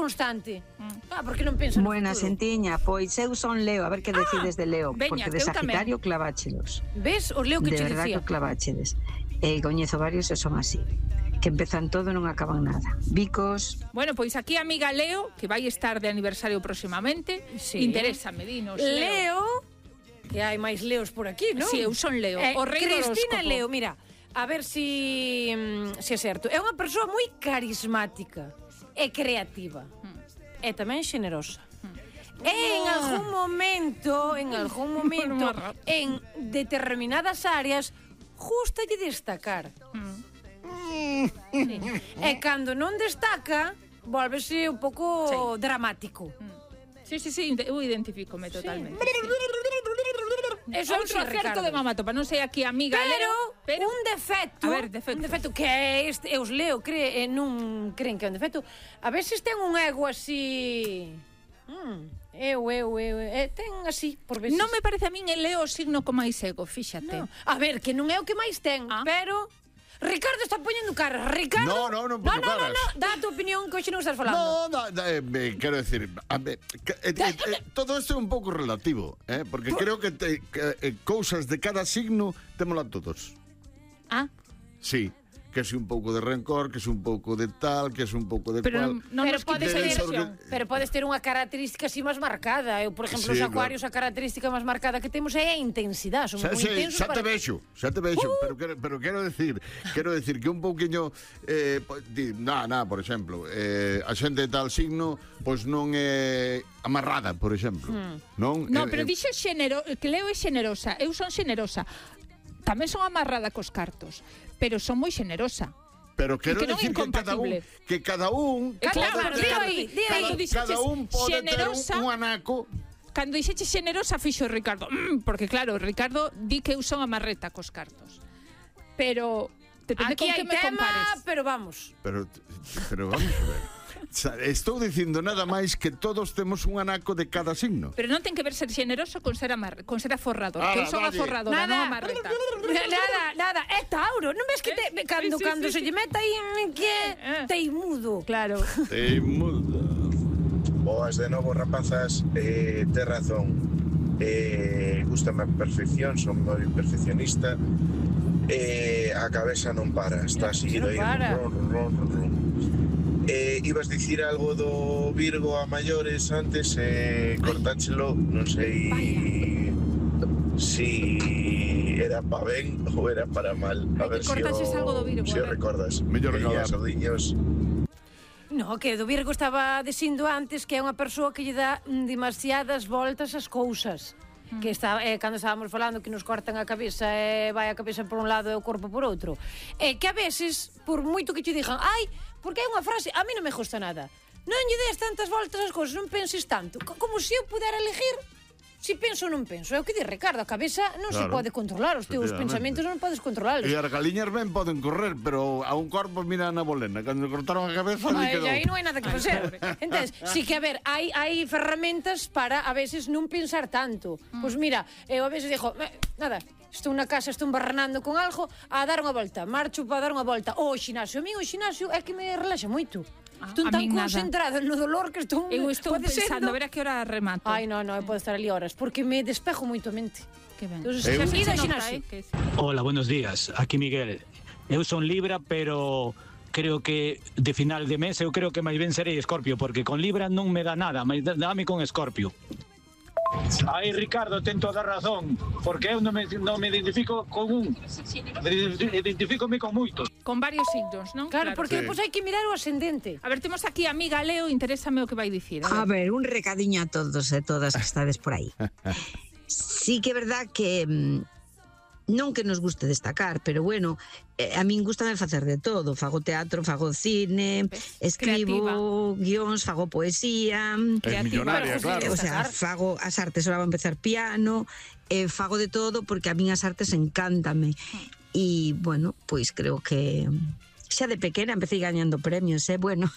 constante. Porque non penso no Buena, futuro. Sentiña, pois eu son Leo, a ver que decides de Leo, veña, porque de eu tamén. Sagitario claváchelos. Ves? Os leo que De che verdad dicía. que claváchedes. Coñezo varios e son así, que empezan todo e non acaban nada. Bicos. Bueno, pois aquí a amiga Leo, que vai estar de aniversario próximamente, Sí. Interésame, dinos. Leo, que hai máis Leos por aquí, non? Sí, eu son Leo, o rei do Cristina horóscopo. Leo, mira, a ver si é certo. É unha persoa moi carismática e creativa. E tamén xenerosa. En algún momento, en determinadas áreas, gustalle destacar. Sí. E cando non destaca, volvese un pouco dramático. Sí, eu identifícome totalmente. Eso é un Outro acerto de Mamatopa, non sei aquí a amiga Leo, pero un defecto, A ver, defecto. un defecto que é este, os leo, non creen que é un defecto. A veces ten un ego así. Ten así, por veces. Non me parece a min el Leo o signo con máis ego, fíxate. No. A ver, que non é o que máis ten, pero Ricardo está poñendo cara. Ricardo. Non poño caras. No, dá a tua opinión que hoxe non estás falando. Quero decir, todo isto é un pouco relativo, porque creo que cousas de cada signo témola todos. Sí, que es un pouco de rencor, que es un pouco de tal, que es un pouco de Pero cual. non nos podes quites a ter, ilusión. pero podes ter unha característica así máis marcada. Eu, por exemplo, Sí, os acuarios, a característica máis marcada que temos é a intensidade. Somos moi intensos Xa te vexo, pero quero decir que un pouquiño por exemplo, a xente de tal signo pois non é amarrada, por exemplo, non? No, pero dixo que Leo é xenerosa, eu son xenerosa. Tamén son amarrada cos cartos, pero son moi xenerosa. Pero quero que non é decir que cada un Claro, cada un pode ter un anaco. Cando dixeche xenerosa fixo Ricardo, porque claro, Ricardo di que eu son amarreta cos cartos. Pero depende aquí con que hai me tema, compares. pero vamos. Pero vamos a ver. Estou dicindo nada máis que todos temos un anaco de cada signo. Pero non ten que ver ser xeneroso con ser aforrador. Que eu son aforradora, non amarreta. Nada, é Tauro. Non ves que cando se lle meta aí que teimudo. Claro. Teimudo. Boas de novo, rapazas. Tes razón. Gústame a perfección, son moi perfeccionista. A cabeza non para, está seguido aí. Ron. Ibas dicir algo do Virgo a maiores antes, cortáchelo, non sei si era para ben ou era para mal. A ver se o recordas. Mellor recordar. No, que do Virgo estaba dicindo antes que é unha persoa que lle dá demasiadas voltas ás cousas. Que está, cando estábamos falando que nos cortan a cabeza e vai a cabeza por un lado e o corpo por outro. Que a veces, por moito que te digan, porque é unha frase, a mí non me gusta nada. Non lle des tantas voltas ás cousas, non penses tanto. Como se eu pudera elegir si penso ou non penso. É o que di Ricardo, a cabeza non se pode controlar, os teus pensamentos non podes controlarlos. E as galiñas ben poden correr, pero a un corpo mira na bolena. Cando cortaron a cabeza, quedou. Aí non hai nada que facer. Entonces, si que a ver, hai ferramentas para a veces non pensar tanto. Pois mira, eu a veces dixo, nada, estou na casa, estou embarranando con algo, a dar unha volta, marcho para dar unha volta. O xinasio, a mí o xinasio é que me relaxa moito. Estou tan concentrada no dolor que estou... Eu estou pensando, a ver a que hora remato. Non, eu podo estar ali horas, porque me despejo moito a mente. Que ben. Hola, buenos días, aquí Miguel. Eu son Libra, pero creo que de final de mes eu creo que máis ben serei Escorpio, porque con Libra non me dá nada, mas dame con Escorpio. Aí, Ricardo, ten toda razón, porque eu non me identifico con un, identifícome con moitos. Con varios signos, non? Claro, porque depois hai que mirar o ascendente. A ver, temos aquí a amiga Leo, interésame o que vai dicir. A ver, un recadiño a todos e todas que estades por aí. Sí que é verdad que non que nos guste destacar, pero bueno, a min gustame facer de todo. Fago teatro, fago cine, escribo guións, fago poesía. É millonaria, claro. O sea, fago as artes, ahora vou empezar piano, fago de todo porque a min as artes encántame. E, bueno, pois creo que xa de pequena empecé gañando premios, bueno,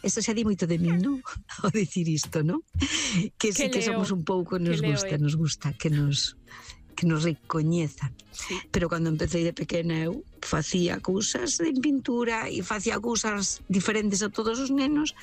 eso xa di moito de min, non? Ao dicir isto, non? Que sí que somos un pouco, nos gusta que nos recoñezan. Sí. Pero cando empecé de pequena eu facía cousas en pintura e facía cousas diferentes a todos os nenos,